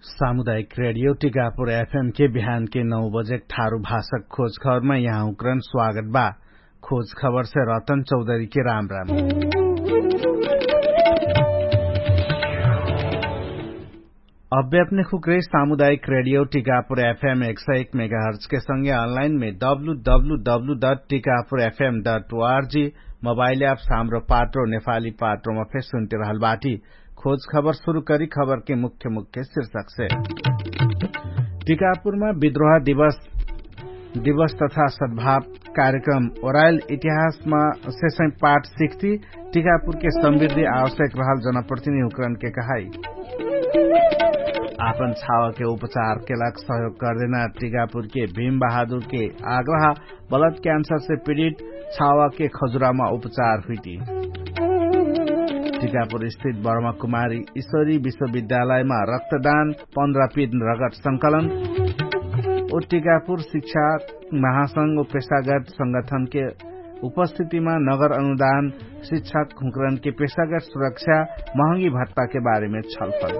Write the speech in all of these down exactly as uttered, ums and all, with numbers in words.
सामुदायिक रेडियो टिकापुर एफएम के बिहान के नौ बजेक ठारु भाषक खोज खबरमा यहाँ उक्रन स्वागत बा। खोज खबर से रतन चौधरी के राम राम। अभ्यापने खुक्रे सामुदायिक रेडियो टिकापुर एफएम एक सय एक मेगाहर्च के संगे अनलाइन मे W W W dot Tikapur FM dot ORG mobile app साम्रो पात्रो नेपाली पात्रोमा फेर सुन्ते रहल बाटी। खोज खबर सुरु करी खबर के मुख्य मुख्य शीर्षक से। टिकापुरमा विद्रोह दिवस तथा सद्भाव कार्यक्रम ओराइल इतिहासमा सेसै पाठ सिक्ती। टिकापुरके समृद्धि आवश्यक रहल जनप्रतिनिधि हुक्रनके कहाई। आपन छावके उपचारके लाग सहयोग करदेना टिकापुरके भीम बहादुरके आग्रह। बलत क्यान्सरसे पीडित छावके खजुरामा उपचार हुइती। टिकापुरस्थित बर्मा कुमारी ईश्वरी विश्वविद्यालयमा रक्तदान पन्ध्र पिन रगत संकलन। ओ टिकापुर शिक्षा महासंघ ओ पेशागत संगठनके उपस्थितिमा नगर अनुदान शिक्षक हुँकरनके पेशागत सुरक्षा महँगी भत्ताके बारेमे छलफल।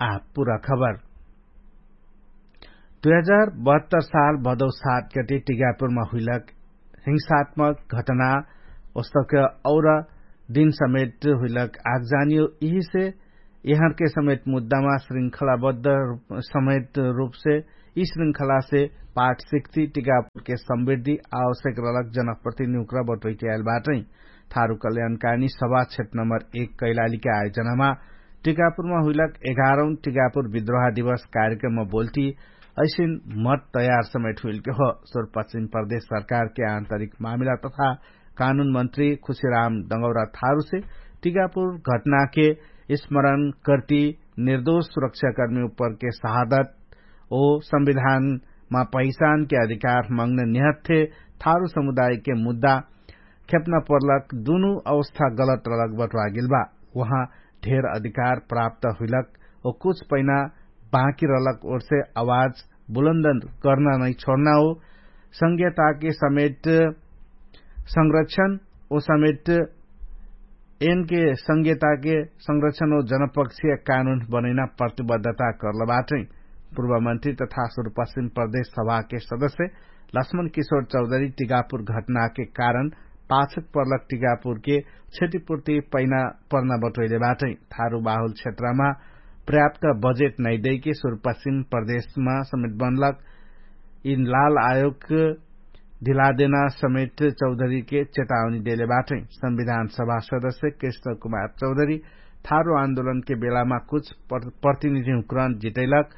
आ पुरा खबर। दुई हजार बहत्तर साल भदौ सात गटे टिकापुरमा हुइलक हिंसात्मक घटना ओस्तक और दिन समेत हुइलक आगजानियो यिहिसे यहाँके समेत मुद्दामा श्रृंखलाबद्ध समेत रूपसे यि श्रृंखलासे पाठ सिक्ती टिकापुरके समृद्धि आवश्यक रहलक जनप्रतिनिधि उक्रा बटोइटी आइल बाटै। थारु कल्याणकानी सभा क्षेत्र नम्बर एक कैलालीके आयोजनामा टिकापुरमा हुइलक एघारौं टिकापुर विद्रोह दिवस कार्यक्रममा बोल्टी ऐसिन मत तयार समेट हुइलके हो। सुरपश्चिम प्रदेश सरकारके आन्तरिक मामिला तथा कानुन मन्त्री खुशिराम डङ्गौरा थारुसे टिकापुर घटनाके स्मरण कर्ती निर्दोष सुरक्षाकर्मी उपरके शहादत ओ संविधानमा पहिचानके अधिकार मङ्गने निहत्थे थारु समुदायके मुद्दा खेप्ना पर्लक दुनु अवस्था गलत रलक बट्वागेल बा। उहाँ ढेर अधिकार प्राप्त हुइलक ओ कुछ पैना बाँकी रलक ओर्से आवाज बुलन्द कर्ना नै छोड्ना हो। संघीयताके समेट संरक्षण ओ समेट एनके संघीयताके संरक्षण ओ जनपक्षीय कानुन बनैना प्रतिबद्धता कर्ल बाटै। पूर्वमन्त्री तथा सुरुपश्चिम प्रदेश सभाके सदस्य लक्ष्मण किशोर चौधरी टिकापुर घटनाके कारण पाछक पर्लक टिकापुरके क्षतिपूर्ति पैना पर्ना बटोइले बाटै। थारु बाहुल क्षेत्रमा पर्याप्त बजेट नैदैके सुरुपश्चिम प्रदेशमा समेट बनलक यिन लाल आयोग ढिलादेना समेट चौधरीके चेतावनी देले बाटै। संविधान सभा सदस्य कृष्ण कुमार चौधरी थारु आन्दोलनके बेलामा कुछ प्रतिनिधि हुक्रन जितैलक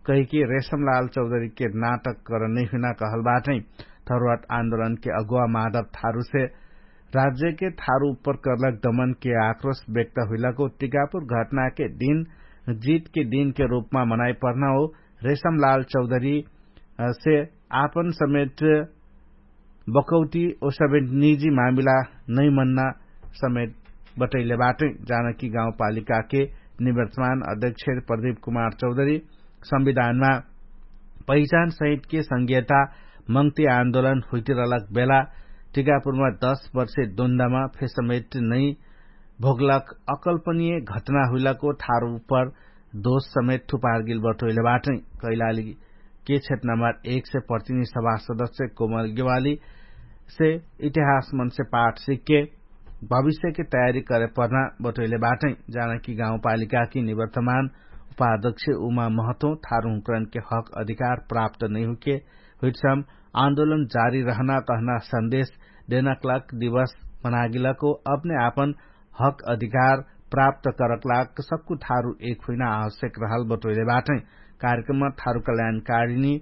कहिके रेशमलाल चौधरीके नाटक करन नै हुइना कहल बाटै। थरुवाट आन्दोलनके अगुवा माधव थारुसे राज्यके थारु उप्पर कर्लक दमनके आक्रोश व्यक्त हुइलक ओ टिकापुर घटनाके दिन जितके दिनके रूपमा मनाइ पर्ना हो। रेशमलाल चौधरीसे आपन समेट बकौटी ओ समेट निजी मामिला नै मन्ना समेट बटैले बाटै। जानकी गाउँपालिकाके निवर्तमान अध्यक्ष प्रदीप कुमार चौधरी संविधानमा पहिचान सहितके संघीयता मङ्गती आन्दोलन हुइतिरलक बेला टिकापुरमा दश वर्षे दुन्दामा फेसमेट नै भोगलक अकल्पनिय घटना हुइलक ओ थारु उप्पर दोष समेत थुपारगिल बटोइले बाटै। कैलाली के क्षेत्र नम्बर एक से प्रतिनिधि सभा सदस्य कोमल गेवाली से इतिहास मन से पाठ सिक्के भविष्यके तयारी करे पर्ना बटोइले बाटै। जानकी गाउँपालिकाकी निवर्तमान उपाध्यक्ष उमा महतो थारु हुँकरनके हक अधिकार प्राप्त नैहुके हुइटसम आन्दोलन जारी रहना कहना सन्देश देनकलक दिवस मनागिलको अपने आपन हक अधिकार प्राप्त करकलाग सक्कु थारु एक हुइना आवश्यक रहल बटोइले बाटै। कार्यक्रममा थारु कल्याणकारिणी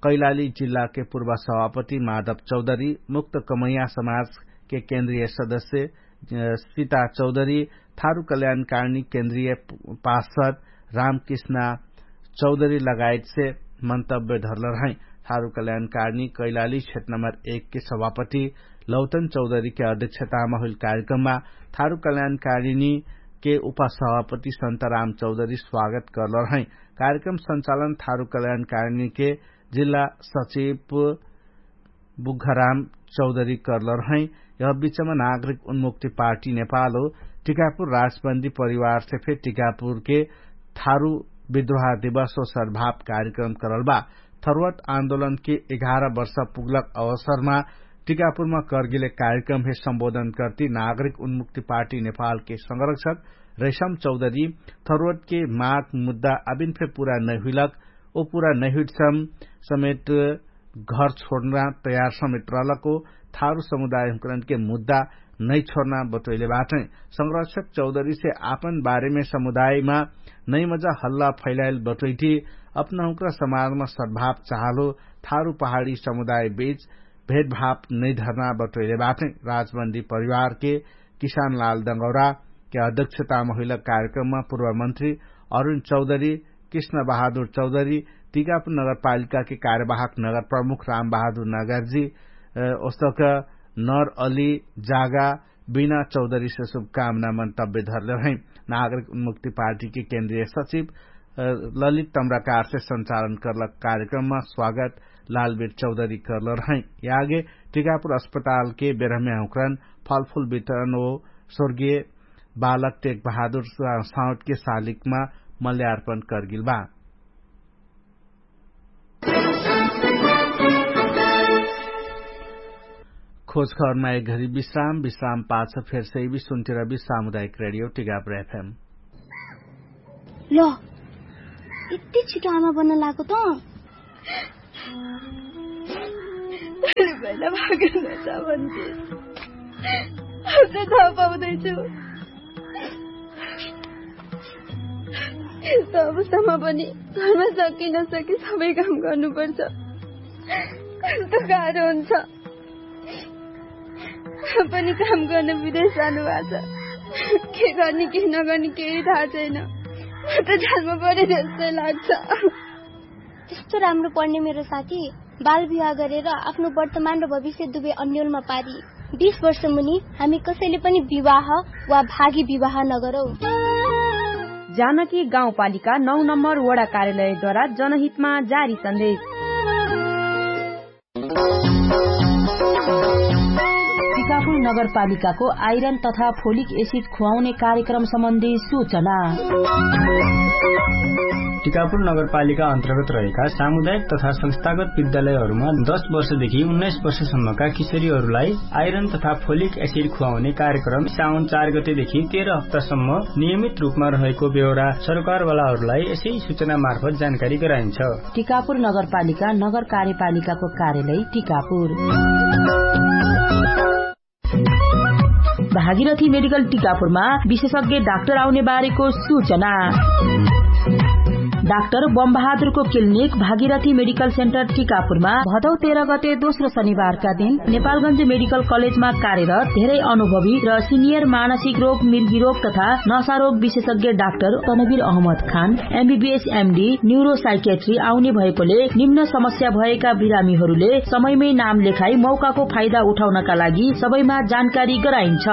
कैलाली जिल्लाके पूर्व सभापति माधव चौधरी मुक्त कमैया समाजके केन्द्रीय सदस्य सिता चौधरी थारु कल्याणकारिणी केन्द्रीय पार्षद रामकृष्णा चौधरी लगायतसे मन्तव्य धरल रहै। थारु कल्याणकारिणी कैलाली क्षेत्र नम्बर एक के सभापति लौतन चौधरी के अध्यक्षतामा हुइल कार्यक्रममा थारु कल्याणकारिणी के उपसभापति सन्तराम चौधरी स्वागत करल रहै। कार्यक्रम संचालन थारु कल्याणकारिणी के जिल्ला सचिव बुघराम चौधरी कर्लर हैं। यह बिचमा नागरिक उन्मुक्ति पार्टी नेपालो टिकापुर राजबन्दी परिवारसे फेर टिकापुरके थारु विद्रोहा दिवस हो सद्भाव कार्यक्रम करल बा। थरुवट आन्दोलनके एघार वर्ष पुगलक अवसरमा टिकापुरमा कर्गिले कार्यक्रम हे सम्बोधन कर्ति नागरिक उन्मुक्ति पार्टी नेपालके संरक्षक रैसम चौधरी थरुवटके माग मुद्दा अबिन फे पुरा नैहुइलक ओ पुरा नैहुइटसम समेट घर छोड्ना तयार समेट रहलको थारु समुदायहुँकरनके मुद्दा नै छोड्ना बटोइले बाटै। संरक्षक चौधरीसे आपन बारेमे समुदायमा नै मजा हल्ला फैलाइल बटोइटी अपनहुँक्रा समाजमा सद्भाव चाहलो थारु पहाडी समुदाय बीच भेदभाव नै धर्ना बटोइले बाटै। राजबन्दी परिवारके किसान लाल दङ्गौराके अध्यक्षतामा हुइलक कार्यक्रममा पूर्वमन्त्री अरुण चौधरी, कृष्ण बहादुर चौधरी, टिकापुर नगरपालिकाके कार्यवाहक नगर प्रमुख राम बहादुर नगरजी, ओस्तक नर अली जागा बिना चौधरीसे शुभकामना मन्तव्य धरले हैं। नागरिक उन्मुक्ति पार्टीके केन्द्रीय सचिव ललित तम्राकारसे सञ्चालन कर्लक कार्यक्रममा स्वागत लालबीर चौधरी कर्लर हैं। यागे टिकापुर अस्पतालके बेरहमे हुँकरन फलफुल वितरण ओ स्वर्गीय बालक टेक बहादुर साउटके सालिकमा मल्यार्पण कर्गिल बा। खोज खबरमा एक घरी विश्राम विश्राम पाछ फेर सैबी सुन्तिर बि सामुदायिक रेडियो टिकापुर एफएम। ल, यति छिटो आमा बन्न लागो त? पहिला भागेन त भन्थे। अब त थाहा पाउँदैछु। यस्तो अवस्थामा पनि घरमा सके नसके सबै काम गर्नुपर्छ। कस्तो गाह्रो हुन्छ। पनि काम गर्न विदेश जानुभएको छ। के गर्ने के नगर्ने केही थाहा छैन। म त जालमा परे जस्तै लाग्छ। त्यस्तो राम्रो पढ्ने मेरो साथी बाल विवाह गरेर आफ्नो वर्तमान र भविष्य दुवै अन्यलमा पारी। बिस वर्ष मुनि हामी कसैले पनि विवाह वा भागी विवाह नगरौ। जानकी गाउँपालिका नौ नम्बर वडा कार्यालयद्वारा जनहितमा जारी सन्देश। टिकापुर नगरपालिकाको आइरन तथा फोलिक एसिड खुवाउने कार्यक्रम सम्बन्धी सूचना। टिकापुर नगरपालिका अन्तर्गत रहेका सामुदायिक तथा संस्थागत विद्यालयहरूमा दस वर्षदेखि उन्नाइस वर्षसम्मका किशोरीहरूलाई आइरन तथा फोलिक एसिड खुवाउने कार्यक्रम साउन चार गतेदेखि तेह्र हप्तासम्म नियमित रूपमा रहेको बेहोरा सरकारवालाहरूलाई यसै सूचना मार्फत जानकारी गराइन्छ। टिकापुर नगरपालिका नगर कार्यपालिकाको कार्यालय टिकापुर। भागीरथी मेडिकल टिकापुरमा विशेषज्ञ डाक्टर आउने बारेको सूचना। डाक्टर बमबहादुरको क्लिनिक भागीरथी मेडिकल सेन्टर टिकापुरमा भदौ तेह्र गते दोस्रो शनिबारका दिन नेपालगञ्ज मेडिकल कलेजमा कार्यरत धेरै अनुभवी र सिनियर मानसिक रोग, मिर्गी रोग तथा नसा रोग विशेषज्ञ डाक्टर तनवीर अहमद खान एमबीबीएस एमडी न्युरोसाइकेट्री आउने भएकोले निम्न समस्या भएका बिरामीहरूले समयमै नाम लेखाई मौकाको फाइदा उठाउनका लागि सबैमा जानकारी गराइन्छ।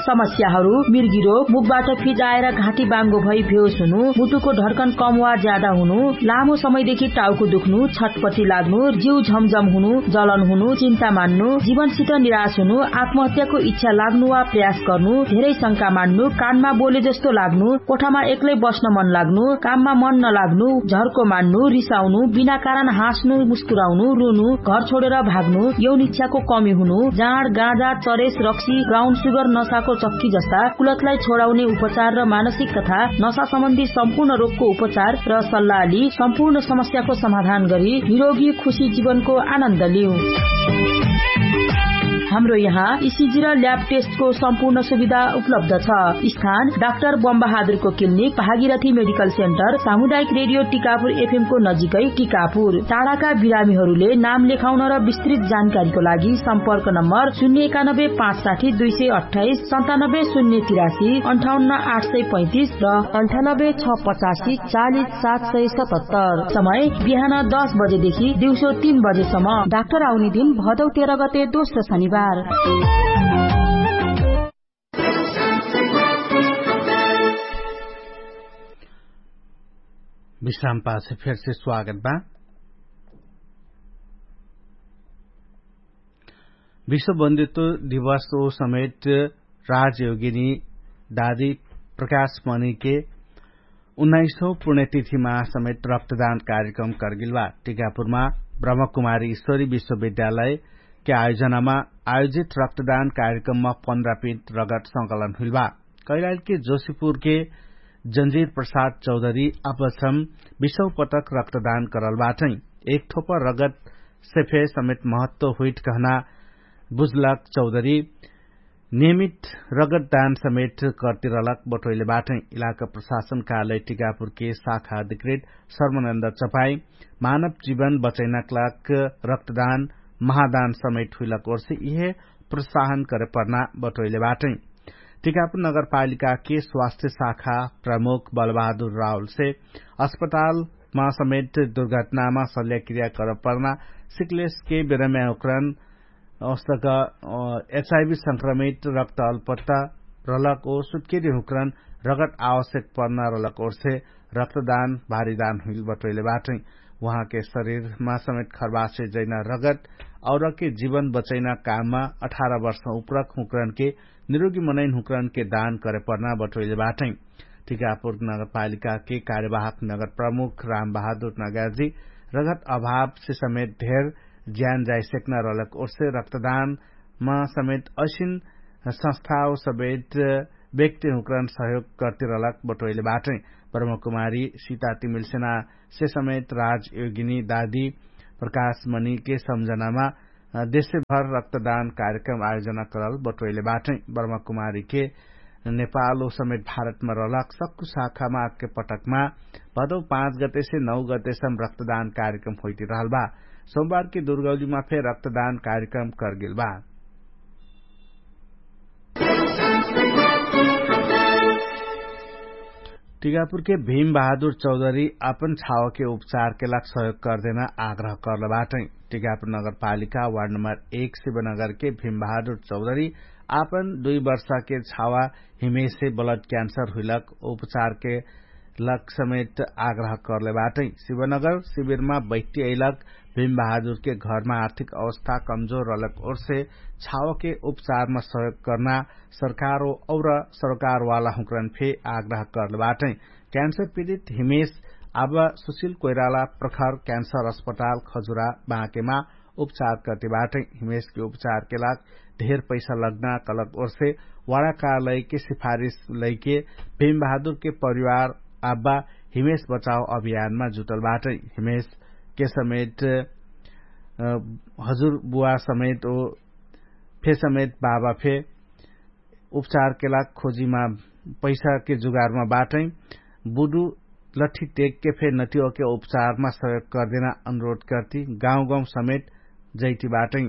समस्याहरू मिर्गी रोग, मुखबाट फिज आएर घाँटी बाङ्गो भई भेउस हुनु, मुटुको ढर्कन कम वा ज्यादा हुनु, लामो समयदेखि टाउको दुख्नु, छटपटी लाग्नु, जिउ झमझम हुनु, जलन हुनु, चिन्ता मान्नु, जीवनसित निराश हुनु, आत्महत्याको इच्छा लाग्नु वा प्रयास गर्नु, धेरै शंका मान्नु, कानमा बोले जस्तो लाग्नु, कोठामा एक्लै बस्न मन लाग्नु, काममा मन नलाग्नु, झर्को मान्नु, रिसाउनु, बिना कारण हाँस्नु, मुस्कुराउनु, रुनु, घर छोडेर भाग्नु, यौन इच्छाको कमी हुनु, जाँड, गाँजा, चरेस, रक्सी, ब्राउन सुगर, नसाको चक्की जस्ता कुलतलाई छोडाउने उपचार र मानसिक तथा नसा सम्बन्धी सम्पूर्ण रोगको उपचार र सल्लाह लि सम्पूर्ण समस्याको समाधान गरी निरोगी खुशी जीवनको आनन्द लिउ। हाम्रो यहाँ इसिजी र ल्याब टेस्टको सम्पूर्ण सुविधा उपलब्ध छ। स्थान डाक्टर बमबहादुरको क्लिनिक, भागीरथी मेडिकल सेन्टर, सामुदायिक रेडियो टिकापुर एफएमको नजिकै टिकापुर। टाढाका बिरामीहरूले नाम लेखाउन र विस्तृत जानकारीको लागि सम्पर्क नम्बर शून्य एकानब्बे पाँच साठी दुई सय अट्ठाइस, सन्तानब्बे शून्य तिरासी, अन्ठाउन्न आठ सय पैँतिस र अन्ठानब्बे छ पचासी चालिस सात सय सतहत्तर। समय बिहान दस बजेदेखि दिउँसो तीन बजेसम्म। डाक्टर आउने दिन भदौ तेह्र गते दोस्रो शनिबार। विश्राम पाछ फेरसे स्वागत बा। विश्वबन्दित्व दिवस ओ समेट राजयोगिनी दादी प्रकाश मनिके उन्नाइसौ पुण्यतिथिमा समेट रक्तदान कार्यक्रम करगिलबा। टिकापुरमा ब्रह्मकुमारी ईश्वरी विश्वविद्यालयके आयोजनामा आयोजित रक्तदान कार्यक्रममा पन्ध्र पिट रगत संकलन हुइलबा। कैलालके जोशीपुरके जन्जिर प्रसाद चौधरी अपसम विश्वपटक रक्तदान करलबाटै। एक ठोपर रगत सेफे समेट महत्व हुइट कहना बुझलक चौधरी नियमित रगतदान समेट कर्तिरलक बटोइले बाटै। इलाका प्रशासन कार्यालय टिकापुरके शाखा अधिकृत सर्वनन्द चपाई मानव जीवन बचैनाक लाग रक्तदान महादान समेट हुइलक ओर्से इहे प्रोत्साहन करे पर्ना बटोइले बाटै। टिकापुर नगरपालिकाके स्वास्थ्य शाखा प्रमुख बलबहादुर रावलसे अस्पतालमा समेट दुर्घटनामा सल्याक्रिया करे पर्ना सिक्लेसके बेरम्याहुक्रन औस्तक एचआइभी संक्रमित रक्त अलपत्ता रलक ओ सुत्केरी हुक्रन रगत आवश्यक पर्ना रलक ओर्से रक्तदान भारीदान हुइल बटोइले बाटै। उहाँके शरीरमा समेट खर्बासे जैना रगत औरके जीवन बचैना काममा अठार वर्ष उप्रक हुक्रनके निरोगी मनैन हुक्रनके दान करे पर्ना बटोइले बाटै। टिकापुर नगरपालिकाके कार्यवाहक नगर प्रमुख रामबहादुर नगाजी रगत अभावसे समेत धेर ज्यान जाइसेक्ना रलक ओर्से रक्तदानमा समेत असिन संस्थाओ समेत व्यक्ति हुक्रन सहयोग कर्तिरलक बटोइले बाटै। ब्रह्मकुमारी सीता तिमिलसेनासे समेत राजयोगिनी दादी प्रकाशमनिके सम्झनामा देशेभर रक्तदान कार्यक्रम आयोजना करल बटोइले बाटै। ब्रह्मकुमारीके नेपालो समेत भारतमा रहलक सक्कु शाखामा आके पटकमा भदौ पाँच गतेसे नौ गतेसम रक्तदान कार्यक्रम होइतिरहल बा। सोमबारके दुर्गौलीमा फे रक्तदान कार्यक्रम करगेल बा। टिकापुरके भीम बहादुर चौधरी अपन छावके उपचारके लाग सहयोग करदेना आग्रह करल बाटै। टिकापुर नगरपालिका वार्ड नम्बर एक शिवनगरके भीम बहादुर चौधरी आपन दुई वर्षाके छावा हिमेसे ब्लड क्यान्सर हुइलक उपचारके लक समेत आग्रह करले बाटै। शिवनगर शिविरमा बैठ्टी अइलक भीम बहादुरके घरमा आर्थिक अवस्था कमजोर रहलक ओर्से छावके उपचारमा सहयोग कर्ना सरकार और सरकारवाला हुँक्रन फे आग्रह करले बाटै। क्यान्सर पीडित हिमेश अब सुशिल कोइराला प्रखर क्यान्सर अस्पताल खजुरा बाँकेमा उपचार कर्ति बाटै। हिमेशके उपचारके लाग ढेर पैसा लग्ना कलक ओर्से वाडाकालैके सिफारिस लैके भीम बहादुरके परिवार आब्बा हिमेश बचाव अभियानमा जुटल बाटै। हिमेशके समेत हजुर बुवा समेत ओ फे समेत बाबा फे उपचारके लाग खोजीमा पैसाके जुगारमा बाटै। बुडु लठ्ठी टेकके फे नतियोके उपचारमा सहयोग कर्देना अनुरोध कर्ति गाउँगाउँ समेत जैति बाटै।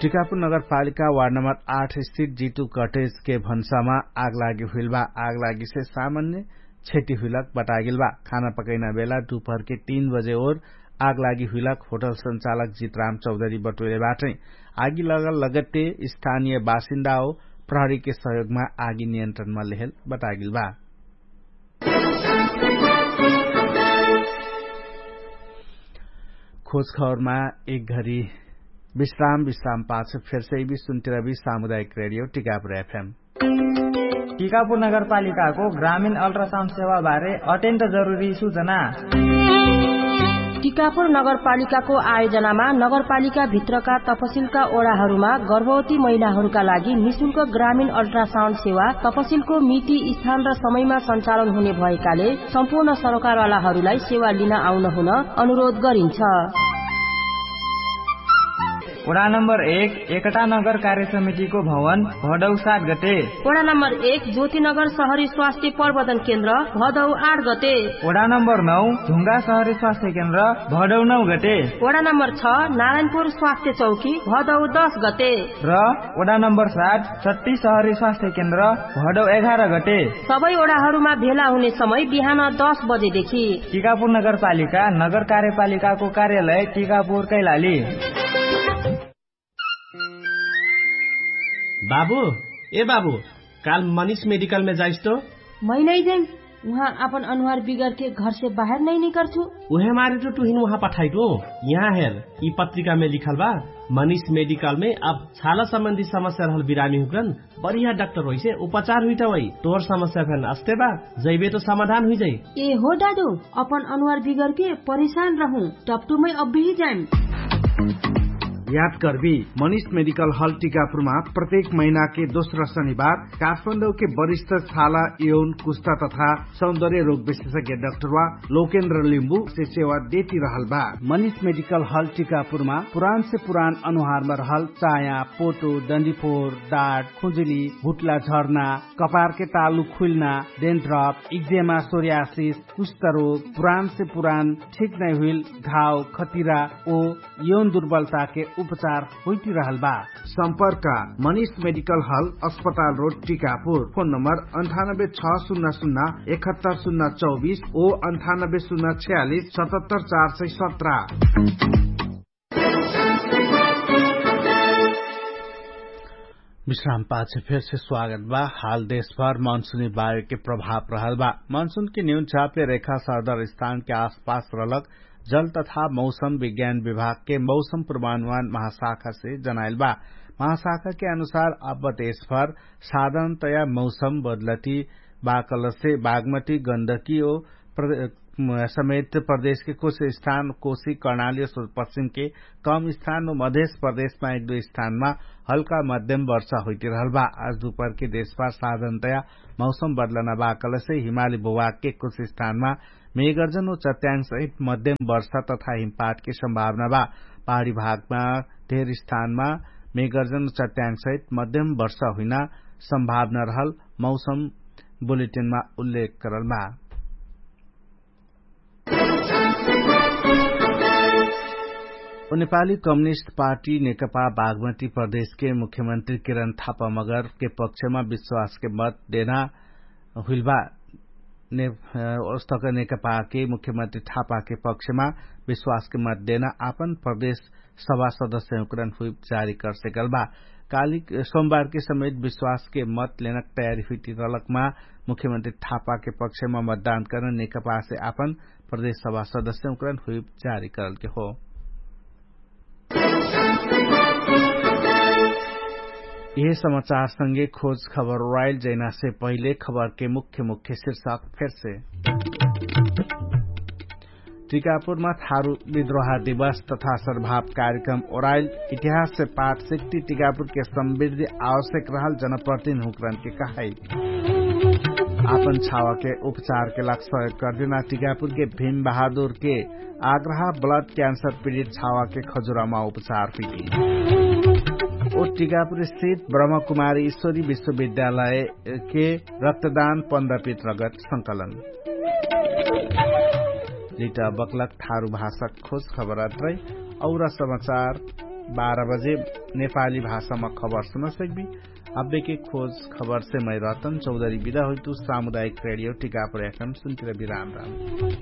टिकापुर नगरपालिका वार्ड नम्बर आठ स्थित जितु कटेजके भन्सामा आगलागी हुइलबा। आगलागीसे सामान्य क्षति हुइलक बटागेलबा। खाना पकैना बेला दुपहरके तीन बजे ओर आगलागी हुइलक होटल सञ्चालक जितराम चौधरी बटोइले बाटै। आगी लगल लगत्ते स्थानिय बासिन्दाओ प्रहरीके सहयोगमा आगी नियन्त्रणमा लेहेल बटागेलबा। खोजखबरमा एक घरी विश्राम विश्राम पाछ फेरसै बि सुन्तिरबि सामुदायिक रेडियो टिकापुर एफएम। टिकापुर नगरपालिकाको ग्रामीण अल्ट्रासाउन्ड सेवाबारे अत्यन्त जरुरी सुचना। टिकापुर नगरपालिकाको आयोजनामा नगरपालिकाभित्रका तपसिलका ओडाहरूमा गर्भवती महिलाहरूका लागि निशुल्क ग्रामीण अल्ट्रासाउन्ड सेवा तपसिलको मिति स्थान र समयमा सञ्चालन हुने भएकाले सम्पूर्ण सरकारवालाहरूलाई सेवा लिन आउन हुन अनुरोध गरिन्छ। ओडा नम्बर एक एकटा नगर कार्य समितिको भवन भडौ सात गते। ओडा नम्बर एक ज्योतिनगर सहरी स्वास्थ्य प्रवर्धन केन्द्र भदौ आठ गते। ओडा नम्बर नौ ढुङ्गा सहरी स्वास्थ्य केन्द्र भडौ नौ गते। ओडा नम्बर छ नारायणपुर स्वास्थ्य चौकी भदौ दस गते। र ओडा नम्बर सात सट्टी सहरी स्वास्थ्य केन्द्र भडौ एघार गते। सबै ओडाहरूमा भेला हुने समय बिहान दस बजेदेखि। टिकापुर नगरपालिका नगर कार्यपालिकाको कार्यालय टिकापुर कैलाली। बाबु, ए बाबु, काल मनिष मेडिकलमे जाइस्तो। मै नै जाइम। उहाँ आपन अनुहार बिगरके घरसे बाहेर नै निकर्छु। उहे मारे टु टुहिन उहाँ पठाइटो। यहाँ हेर, यि पत्रिकामे लिखल बा, मनिष मेडिकलमे अब छाला सम्बन्धी समस्या रहल बिरामी हुकरन बढिया डाक्टर होइसे उपचार हुइटा होइ। तोहर समस्या फेन अस्ते बा, जैबे त समाधान हुइजाइ। ए हो दादु, अपन अनुहार बिगरके परेशान रहु, टपटुमै अब्बिही जाइम। याद कर्बी, मनिष मेडिकल हल टिकापुरमा प्रत्येक महिनाके दोस्रा शनिबार काठमाडौके वरिष्ठ छाला यौन कुस्ता तथा सौन्दर्य रोग विशेषज्ञ डाक्टरवा लोकेन्द्र लिम्बु से सेवा देती रहल बा। मनिष मेडिकल हल टिकापुरमा पुरान से पुरान अनुहारमा रहल चाया, पोटो, डन्डीफोर, डाट, खुजुली, भुट्ला झर्ना, कपारके तालु खुइल्ना, डेन्ड्रप, इक्जेमा, सोर्यासिस, कुष्ठरोग, पुरान से पुरान ठीक नै हुइल घाव, खतिरा ओ यौन दुर्बलताके उपचार होइटिरहल बा। सम्पर्क, मनिष मेडिकल हल, अस्पताल रोड, टिकापुर। फोन नम्बर अन्ठानब्बे छ सुन्ना सुन्ना एकहत्तर सुन्ना चौबिस ओ अन्ठानब्बे सुन्ना छ्यालिस सतहत्तर चार सय सत्र। विश्राम पाछे फेरसे स्वागत बा। हाल देशभर मनसुनी वायुके प्रभाव रहल बा। मनसुनके न्यून चापे रेखा सरदर स्थानके आसपास रहलक जल तथा मौसम विज्ञान विभागके मौसम पूर्वानुमान महाशाखासे जनाइल बा। महाशाखाके अनुसार अब देशभर साधारणतया मौसम बदलती बाकलसे बागमती गन्दकी ओ समेत प्रदेशके कुछ स्थान कोशी कर्णाली पश्चिमके कम स्थान ओ मधेश प्रदेशमा एक दुइ स्थानमा हल्का मध्यम वर्षा होइटिरहल बा। आज दुपहरके देशभर साधारणतया मौसम बदलना बाकलसे हिमाली भुभागके कुछ स्थानमा मेघर्जन ओ चट्याङसहित मध्यम वर्षा तथा हिमपातके सम्भावना बा। पहाडी भागमा धेर स्थानमा मेघर्जन ओ चट्याङसहित मध्यम वर्षा हुइना सम्भावना रहल मौसम बुलेटिनमा उल्लेख करल बा। नेपाली कम्युनिस्ट पार्टी नेकपा बागमती प्रदेशके मुख्यमन्त्री किरण थापा मगरके पक्षमा विश्वासके मत देना हुइल बा। ओस्तक नेकपाके मुख्यमन्त्री थापाके पक्षमा विश्वासके मत देना आपन प्रदेश सभा सदस्य हुँकरन हुइप जारी करसेकल बा। काली सोमबारके समेत विश्वासके मत लेनक तयारी हुइटिरलकमा मुख्यमन्त्री थापाके पक्षमा मतदान कर्न नेकपासे आपन प्रदेश सभा सदस्य हुँकरन हुइप जारी करलके हो। यिहे समाचारसँगे खोज खबर ओराइल जैनासे पहिले खबरके मुख्य मुख्य शिर्षक फेरसे। टिकापुरमा थारु विद्रोहा दिवस तथा सर्भाव कार्यक्रम ओराइल। इतिहाससे पाठ सिक्ति टिकापुरके समृद्धि आवश्यक रहल जनप्रतिन हुँकरनके कहाइ। आपन छावाके उपचारके लाग सहयोग कर्दिना टिकापुरके भीम बहादुरके आग्रह ब्लड क्यान्सर पिडित छावाके खजुरामा उपचार पिटी। ओ टिकापुर स्थित ब्रह्मकुमारी ईश्वरी विश्वविद्यालयके रक्तदान पन्ध्र पित रगत संकलन। जिटा बक्लक थारु भाषक खोज खबरत रहि। और समाचार बाह्र बजे नेपाली भाषामा खबर सुनसक्बी। अब्बेके खोज खबरसे मै रतन चौधरी बिदा होइतु। सामुदायिक रेडियो टिकापुर एफएम सुन्तिर बिराम राम।